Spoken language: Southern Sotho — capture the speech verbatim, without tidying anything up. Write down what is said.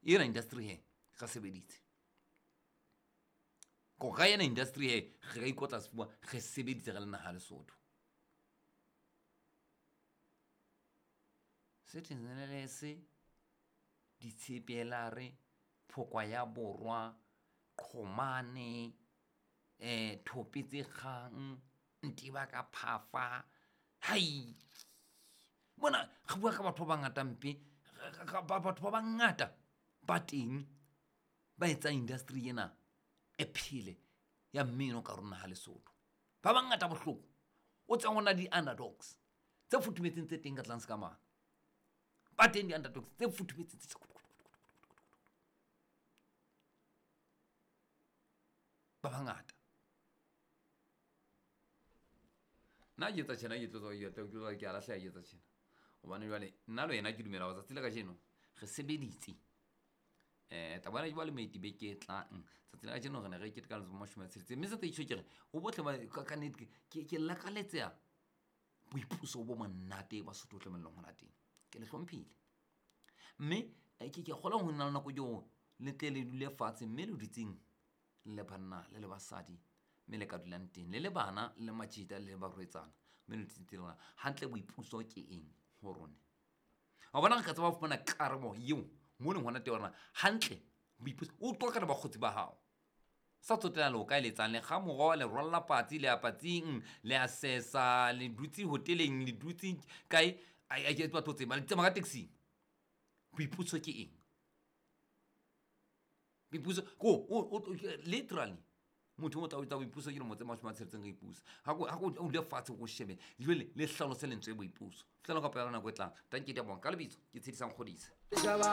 Ena industry he re sebeditse. Ko ka ena industry he re ka ikotla sefuba re sebeditse re le naha Lesotho. Citizen Ditshepelare, Phokwa ya Borwa, Qhomane, eh Thopetse Kgang, Ntiba ka Phafa. Hai. Mona re bua ka batho ba bangata mpe, batho ba bangata ba teng ba etsang industry ena e phele ya mmino ka rona ha Lesotho. Ba bangata bohloko. O tswa hona di underdogs tse futhumetseng tse teng ka tlase ka mane. Ba teng di underdogs tse futhumetseng tse ba bangata. Nna ke etsa tjena ke tlo tswa ke tlo ke a lahleha ke etsa tjena. Hobane jwale nna le wena ke dumela hore tsatsi la kajeno re sebeditse. Eh taba ena jwale meti beke e tlang. Tsatsi la kajeno re ne re keteka letsatsi la mashome a tsheletseng. Mme se tse tjho ke re ho bohle ba ka nnete ke ke lakaletseha boipuso bo monate ba Sotho tlamehileng hona teng. Ke le hlomphile. Mme ke ke kgolwa ho na le nako eo le tle le dule fatshe mme le dutseng le banna le le basadi mme le ka dulang teng le le bana le majita le barwetsana mme le dutseng teng hantle boipuso ke eng ho rona. Wa bona re ka tseba ho fumana karabo eo mo leng hona teng hore hantle boipuso o qoqa le bakgotsi ba hao. Sa tsotella le o ka eletsang le kga moroho, le rwalla patsi, le ya patsing, le a sesa, le dutse hoteleng, le dutse kae, a ke batho tseba le tsamaya ka taxi. Boipuso ke eng? Boipuso ko o literally motho o tla o etsa boipuso ke dilemo tse mashome a tsheletseng re ipusa. Ha ko ha ko o dule fatshe o shebe jwale le hlalose lentswe boipuso. Fihlela ka pela nako e tlang. Tanki di a bonga ka lebitso ke Tshedisang Kgodise.